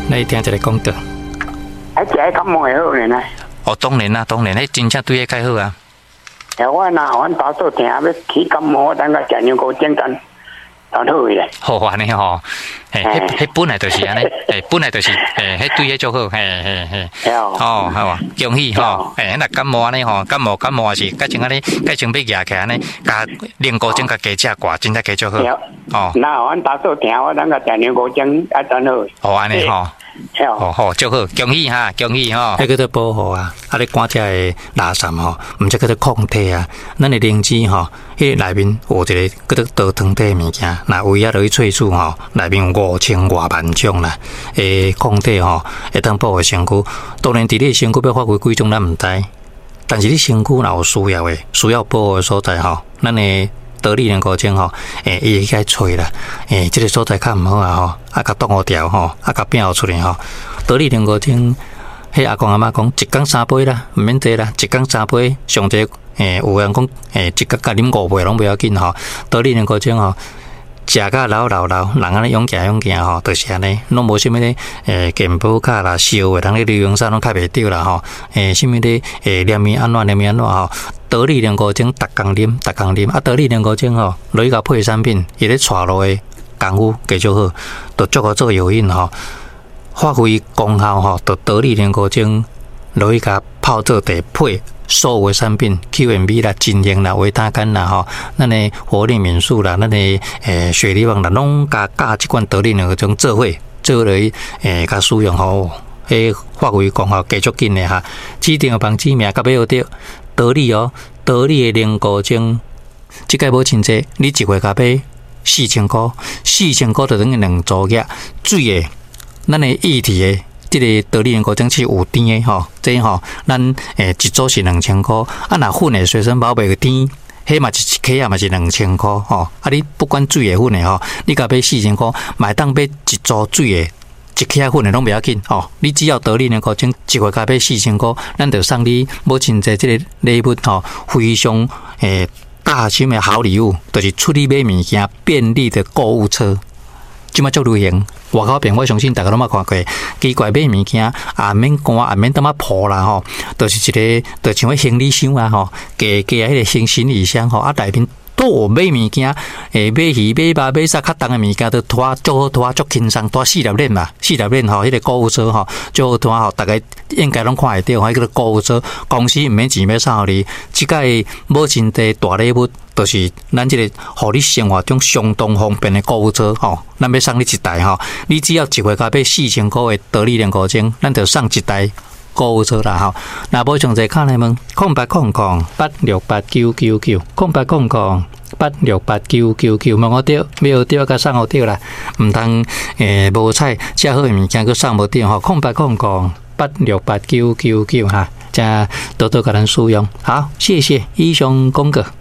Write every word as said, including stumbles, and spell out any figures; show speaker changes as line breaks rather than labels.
來聽一个廣告。
啊，食彼感冒會好呢？
哦，當然啦，當然，彼真正對彼較好啊。
欸，我若阮大肚疼欲起感冒，我等下食牛高精丹，就好去咧。
好按呢吼，嘿，彼彼本來就是按呢，嘿，本來就是，嘿，彼對彼足好，嘿嘿嘿。哦，好啊，恭喜吼，嘿，若感冒按呢吼，感冒感冒也是，改成按呢，改成欲夯起來按呢，共龍骨精共加食掛，真正加足好。
哦。若阮大肚疼，我等下食牛高精，啊，真好。
哦，按呢吼。哦好，足好，恭喜哈，恭喜吼！彼叫做保護啊，啊咧趕遮的垃圾吼，毋則叫做抗體啊。咱的靈芝吼，彼內面有一个叫做多糖體的物件，若胃仔落去萃取吼，內面有五千外萬種啦。欸，抗體吼，會當保護身軀。當然，佇你的身軀欲發揮幾種，咱毋知。但是你身軀若有需要的，需要保護的所在吼，咱的得力龍骨精吼，欸，伊會去揣啦，欸，這个所在較毋好啊吼，啊，共擋予牢吼，啊，共摒予出來吼。得力龍骨精，彼阿公阿嬤講，一工三杯啦，毋免濟啦，一工三杯，上濟，欸，有人講，欸，一工共啉五杯攏袂要緊吼。得力龍骨精吼，食甲流流流，人按呢勇行勇行吼，就是按呢，攏無啥物咧，欸，健保卡啦、燒的，人咧流行啥攏較袂著啦吼。欸，啥物咧，欸，連麵按怎，連麵按怎吼。得力龍骨精，逐工啉，逐工啉。啊，得力龍骨精吼，落去共配產品，伊咧帶路的功夫加足好，就足夠做藥引吼，發揮功效吼，就得力龍骨精落去共泡做茶配所有的產品，Q and B 啦、真英啦、維他乾啦吼，咱的活力敏素啦，咱的欸雪梨棒啦，攏共佮這款得力龍骨精做伙做落去欸，共使用吼，彼發揮功效加足緊的哈。指定的網址名佮欲學著得力哦，得力的龍骨精，這擺無真濟，你一月共買四千箍，四千箍就等於兩組額水的，咱的液體的。這個得力龍骨精是有甜的吼，這吼咱欸一組是兩千箍，啊若粉的隨身寶貝甜，彼嘛是一克仔嘛是兩千箍吼。啊你不管水的粉的吼，你共買四千箍，嘛會當買一組水的，一克仔粉的攏袂要緊吼。你只要得力龍骨精一月共買四千箍，咱就送你母親節這个禮物吼，非常欸大心的好禮物，就是出去買物件便利的購物車。這馬足流行，外口邊我相信大家攏捌看過。奇怪，買物件也免搬，也免淡仔抱啦吼，就是一个，就像彼行李箱啊吼，加加彼个行行李箱吼，啊內面都有買物件，欸，買魚、買肉、買啥較重的物件，都拖足好拖，足輕鬆，拖四粒輪嘛，四粒輪吼，彼个購物車吼，足好拖吼，逐家應該攏看會著，彼叫做購物車，公司毋免錢欲送予你，這擺母親節大禮物，就是咱這個予你生活中相當方便的購物車吼，咱欲送你一台吼，你只要一月共買四千箍的得力龍骨精，咱就送一台購物車啦吼。若無詳細敲來問，空八空空八六八九九九，空八空空八六八九九九，問予著，欲學著共送予著啦，毋通欸無彩，遮好的物件閣送無著吼。空八空空八六八九九九哈，請多多共咱使用。好，謝謝，以上廣告。